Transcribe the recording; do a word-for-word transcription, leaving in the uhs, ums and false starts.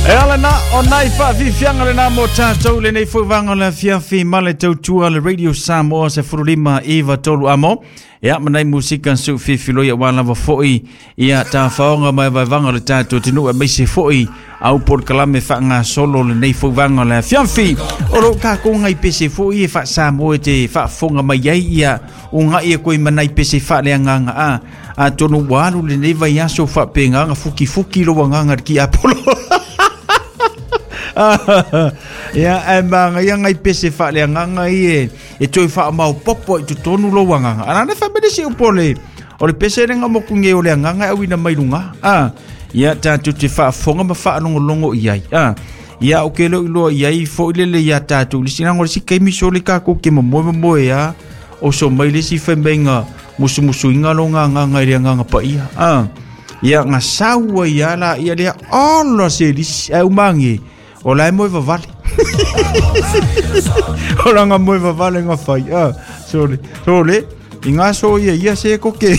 E ala na o nai whaafifianga le nā mo tātou le nei fauvaga o le afiafi ma le tautua le Radio Samoa se furulima iwa tolu amo. Ia manai musika su fifiloi wa lava foi ia tāwhaonga mai vaevaga o le tātou atunuu aemaise foi au polokalame faagasolo lenei fauvaga o le afiafi. O loo takou gai pese foi e faasamoa e te faafofoga mai ai ia ugaʻi e koe manai pese faaleagaga a atonu ua alu lenei vaiaso faapegaga fukifuki lou agaga le kiapolo. Ia ae magaia gai pese faaleagaga ie e toe faamaopopo ai totonu lou agaga ana le faapelesi upu o le o le pese lega mokuge o le agaga e auina mai luga a ia tatou te faafofoga ma faalogologo i ai a ia o ke leo iloa i ai foʻi lele iā tatou le sinago le si kaimi sole kakou ke momoe momoe a o so mai le si faimaiga musumusuiga loga agaga i le agaga paia a ia gasau ai a la ia lea ola se lisi ae umage o lae moe vavale o laga moe vavale ga fai a sole sole i gaso ia ia se koke.